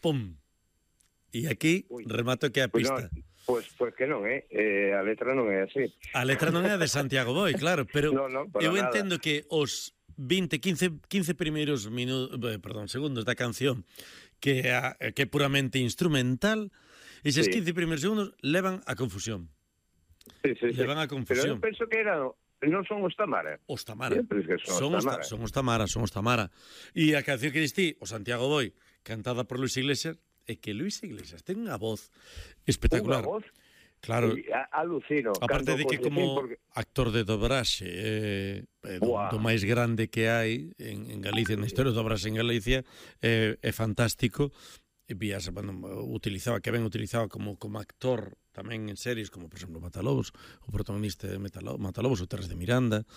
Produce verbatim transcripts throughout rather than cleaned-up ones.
pum. E aquí Ui. remato que a Pois pista. non, pois, pois que non, eh? eh? A letra non é así. A letra non é de Santiago Boi, claro, pero No, no, para eu nada. entendo que os vinte, quince, quince primeiros minutos, perdón, segundos da canción que é, que é puramente instrumental, eses Sí. quince primeiros segundos levan a confusión. Sí, sí, sí. Levan a Pero confusión. eu penso que era... Non son os Tamara. Os Tamara. Eu penso que son, Son os os, ta, Tamara. son os Tamara, son os Tamara. E a canción que distí, o Santiago Boi, cantada por Luis Iglesias, é que Luis Iglesias ten unha voz espectacular. Unha voz? Claro. Sí, a- alucino. Aparte de que como porque... actor de dobraxe eh, eh, do, Buah. do máis grande que hai en, en Galicia, na historia do dobraxe en Galicia, eh, é fantástico. E vías, bueno, utilizaba, que ben utilizaba como, como actor tamén en series como, por exemplo, Matalobos, o protagonista de Matalo- Matalobos, o Terres de Miranda,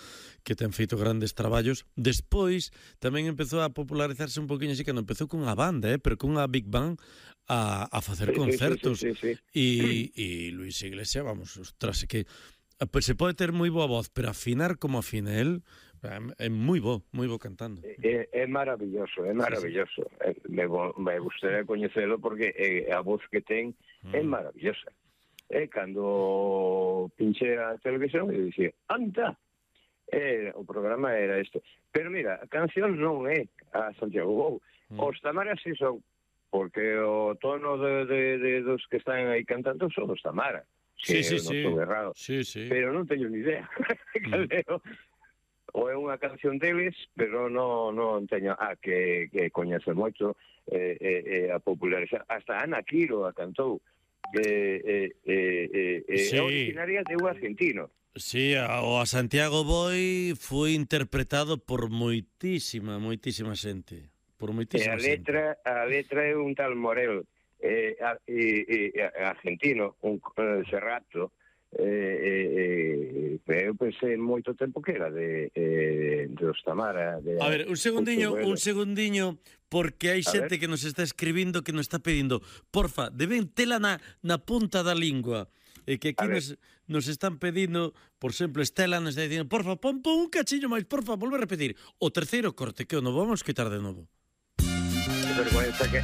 que ten feito grandes traballos. Despois tamén empezou a popularizarse un poquinho así, cando empezou cunha banda, eh, pero cunha big band a, a facer Sí, sí, concertos. sí, sí, sí, sí. E, e Luis Iglesias, vamos, ostras, é que pues, se pode ter moi boa voz, pero afinar como afina el, é moi bo, moi bo cantando. É, é maravilloso, é maravilloso. Sí, sí. Me, me gustaría coñecelo porque é, a voz que ten mm. é maravillosa. E cando pinche a televisión e dixía, anda, e, o programa era isto. Pero mira, a canción non é a Santiago Bou. Mm. Os Tamara si son, porque o tono de, de, de dos que están aí cantando son os Tamara. Sí, sí, non sí. estou errado. Sí, sí. Pero non teño ni idea. Mm. Ou é unha canción deles, pero non, non teño... Ah, que, que coñece moito eh, eh, a popularizar. Hasta Ana Quiro a cantou. Eh, eh, eh, eh, sí. É originaria de un argentino. Sí, a, o a Santiago Boi foi interpretado por moitísima, moitísima xente. Por E moitísima a letra, xente. a letra é un tal Morel, eh, a, e, e, argentino, un eh, Serrato, eh, eh, eh, eu pensei moito tempo que era de, eh, de os Tamara. De, a ver, un segundiño, un segundiño, porque hai xente que nos está escribindo, que nos está pedindo, porfa, deben tela na, na punta da lingua. E que aquí nos, nos están pedindo, por exemplo, Estela nos está dicindo, porfa, pon, pon un cachiño máis, porfa, volve a repetir. O terceiro corte, que o non vamos quitar de novo. Que vergüenza que...